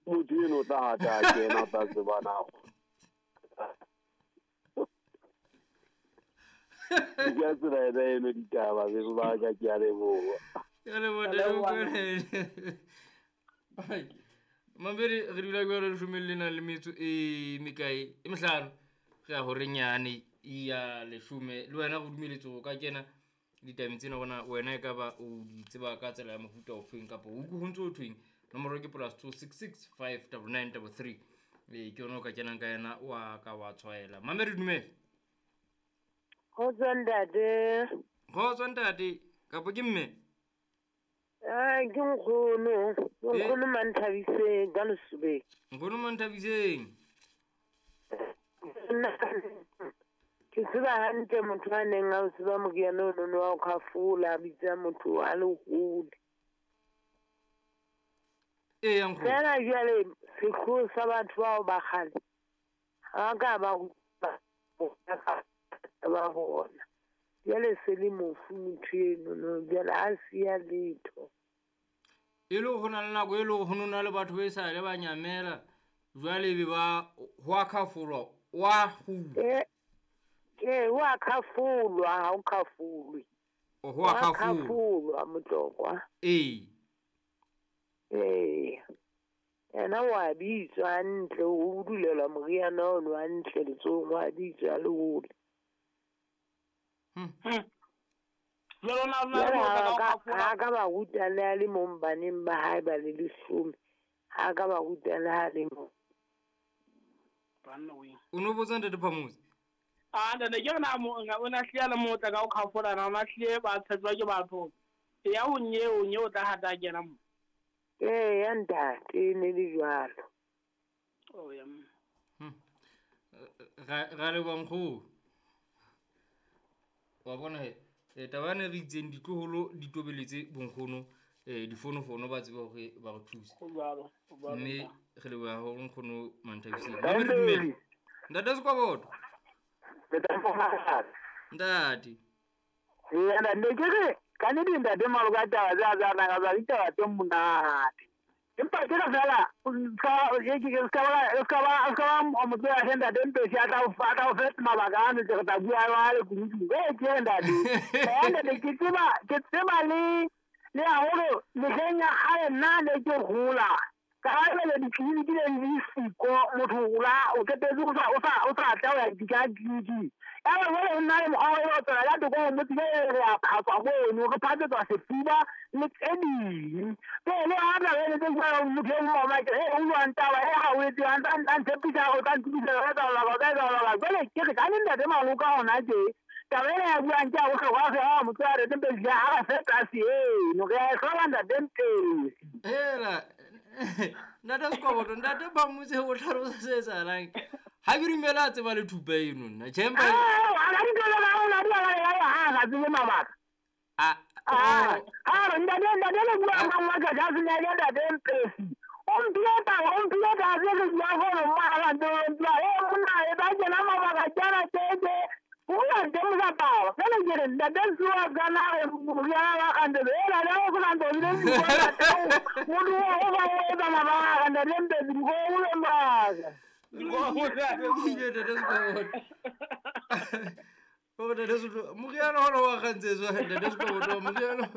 Motho eno o tla hata a kena, o tla tseba na. Ke ka tsela ena eno ditaba be ba ka, ke a leboha. Ke a leboha, Ntate Mokoena. Ai, Mamedi, re dula jwalo leshome le nang le metso e mekae e mehlano, re ya horeng yane ya leshome. Le wena re dumeletse ho ka kena ditabeng tsena, bona wena e ka ba o di tseba ka tsela ya mofuta ofeng, kapa o utlwe ho ntso ho thweng. Nomoro ke +266 5 99 33. Ee, ke yona o ka kenang ka yena, wa ka wa tshwaela. Mamedi, dumela. Kgotso ntate. Kgotso ntate, kapa ke mme? Ai, ke nkgono. Ke nkgono Manthabiseng ka Lesobeng. Nkgono Manthabiseng. Nna ke tseba hantle motho a neng a o tseba moriana o nono wa ho khafola, a bitsa motho a le hole. Ee, ya nkgono. Fela jwale sehloho sa batho bao ba kgale ha ka ba ruta ba bona. Jwale se le mofu motho eno no, jwale ha siya letho. E le ho na le nako e le hore ho no na le batho ba e sa le ba nyamela, jwale be ba ho a khafolwa, wa kgutla. Ee, ho a khafolwa, ha o khafolwe. O ho a Ho a khafolwa. khafolwa, Motlokwa. Ee. Ee. Yena wa bitswa hantle, o budulelwa moriana ono hantle letsohong, wa bitswa le hole. Jwale o na le Jwale motho ha ka o ka khafola. ha ka ba ruta le a le mong baneng ba hae ba le leshome. Ha ka ba ruta le ha le mong. Banna weng. O no botsa Ntate Phamotse? Ah, ntate, ke re na mo, o na hlile a le motle ka o khafola na, o na hlile ba tshetswa ke batho. Ya o nye, o nye o tla hata a kena mo. Ee, ya ntate, e ne le jwalo. Oh, ya. Ra leboha nkgono. Wa bona he, taba yane re itseng ditloholo di tobeletse bonkgono, difonofono ba tsebe hore ba re thuse. Ho jwalo, ho jwalo, Mme ntate. re leboha haholo nkgono Manthabiseng. Mamedi, dumela. Ntate Sekoboto. Ntate. Ee, ntate, ke re ka nnete ntate Maloka taba tse a tsa nang ka ditaba tse monate. Empa ke re fela, o ska ba motho ya hle ntate Mpesi a tla o fa, a tla o fe mabaka ano tse re tla bua jwale kunutung. Ee, ke re ntate. Ee, ntate, ke tseba le haholo mehleng ya kgale nna ne ke hola. Ka ha jwale ditleliniki ne di le siko, motho o la, o qetetse o sa tla ho ya ka tleliniking. Ya ba jwale ho nna le mokgwa wa ho tswela ka thoko ho motse, jwale re a phatswa mono, re phatsetswa sefuba le tse ding. Pele ha tla be le tse jwalo, motho e mong wa ke, o buang taba e ha o etse, a ntshepisa hore o tla ntukisa, o tla etsa o tla etsa jwalo. Jwale ke re ka le ntate Maloka hona tje, taba ena ya buang ke ya bohlokwa fe, ha motho ya ntate Mpesi ha re fe tlase eno, re a e hloka ntate Mpesi. Hela, ntate Sekoboto, ntate Phamotse o hlalosa se etsahalang. Ha ke dumele a tseba le thupa eno nna. Tjhe, empa Ah, ha di tlo ba ona di ba ya ha ga tsebe mabaka. Ah, Ah, oh. ha re ntate, ntate le bua ka nwa ka ja senya ya ntate Mpesi. O mphile taba, o mphile taba tse re bua gore mma ga ba tsebe mpa. Eh, monna, e ba kena mabaka tjana tje tje. O ya nte mo sa taba. Jwale ke re ntate Sua ka na re moriana wa kgante. Eh, la le o sa ntse o bile bua ntate o. Motho o ba o etsa mabaka a ntate Mpesi, go o le mabaka. Ntate Sekoboto. O ntate Sekoboto, moriana ona wa kgantshe ntate Sekoboto, moriana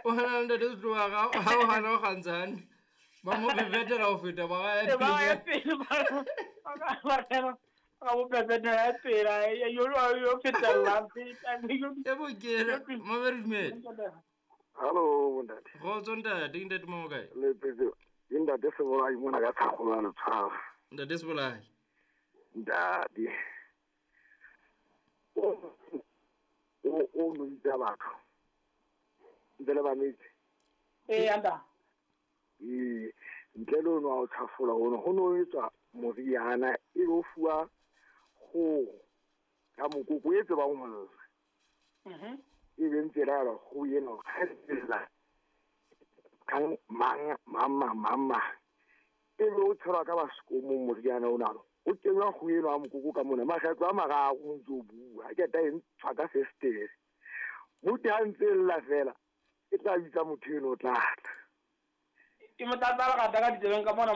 o hana ntate Sekoboto ha o hana o kgantsha hantle. Ba mo bebetela ho feta ba ga ya Ba ya pele. pele, ba ba mo bebetela ya pele, yo fetella, feta, yo E bokela, Mamedi, dumela. Hallo, ntate. Kgotso ntate, ke ntate Mamo kae? Le phetse, ke ntate Sebolai mona ka Tshakgolo ya Letshwara. Ntate Sebolai. Ntate. O no bitsa batho. Ntse le mametse. Ee, anta. Ee, ntle le ono wa ho tjhafola ono, ho no etswa moriana e be o fuwa kgoho ka mokoko e tsebang ho lla. E be ntse e laela kgoho ena hore ha e lla, kang mang, mang, mang, mang, mang. E be o tshelwa ka basekomong moriana ona. O kenywa kgoho eno ya mokoko ka mona, makgetlo a mararo o ntso o bua. Ha qeta e ntshwa ka fesetere. Motho ha ntse e lla fela, e tla bitsa motho eno o tla tla. Ke mo tlatsa lerata ka ditsebeng ka mona.